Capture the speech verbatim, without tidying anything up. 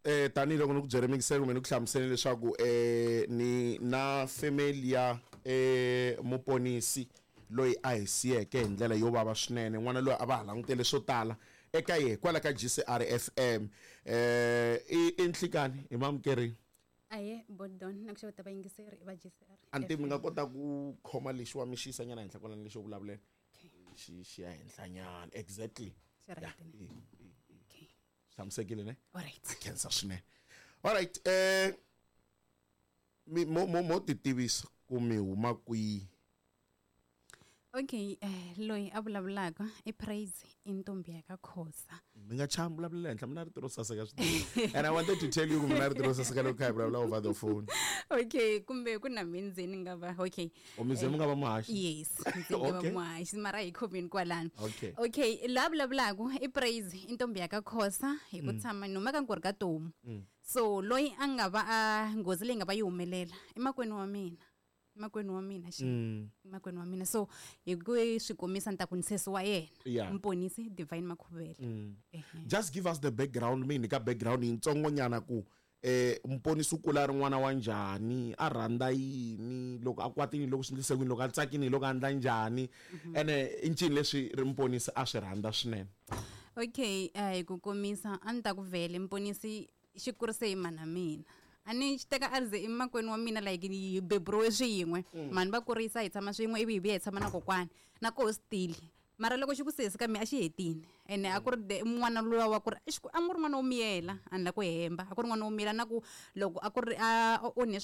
Eh tanihiloko ni ku byele mikiselo kumbe ni ku hlamusele leswaku eh ni na family ya eh muponisi loyi a hi siyeke hi ndlela yo vava swinene, n'wana loyi a va ha langutele swo tala eka yehe kwala ka G C R F M. eh i i nhlikani hi mamukerini. Aye, bodon na ku xeweta vayingiseri va G C R. Anti mi nga kota ku khoma lexiwa mi xi yisa nyana henhla kwalani, lexo vulavulela. Okay. xi xi ya henhla nyana, exactly. Xi right Ya, ne? e- e- Okay. Tshamisekile ne? Alright. Khensa swinene. Alright, eh mi mo mo mo ti tivisa ku mi huma kwihi. Okay, eh loyi a vulavulaka i Praise, i ntombi ya ka Khosa. Mi nga chavi, vulavulela henhla. Mina rito ro saseka swinene, and I wanted to tell you ku mina rito ro saseka loko kha hi vulavula over the phone. Okay, kumbe ku na mindzeni nga va okay. O mi ze mi nga va muhaxi? Yes, ndzi nga va Okay. muhaxi, mara hi khomeni kwalano. Okay. Okay, la vulavulaka i Praise, i ntombi ya ka Khosa, hi ku tshama ni huma ka Nkori ka Tomu. So loyi a nga va a nghozi leyi nga va yi humelela i makwenu wa mina, i makwenu wa mina xi Mm. i makwenu wa mina. So hi ku swi komisa ni ta ku ni sesi wa yena. Yeah. Mponisi Divine Makhuvele. Ehe. Just give us the background, mi nyika background yitsongonyana ku eh mponisi u kula a ri n'wana wa njhani, a rhandza yini, loko a kwatini, loko swi endlise kwini, loko a tsakini, loko a endla njhani, ene i ncini leswi ri mponisi a swi rhandza swinene. Okay, eh hi ku komisa a ni ta ku vhele mponisi xi kurise hi mana mina, a ni xi teka a ri ze i makwenu wa mina, like hi beburiwe swin'we, mhani va kurisa hi tshama swin'we, ivi hi vuya hi tshama na kokwani na koho still. Mara loko xi ku sesi ka mi a xi hetini, ene a ku ri de- n'wana luwa wa ku ri a xi ku- a ku ri n'wana wo miyela, a ni la ku hemba, a ku ri n'wana wo miyela na ku loko a ku ri a onhe.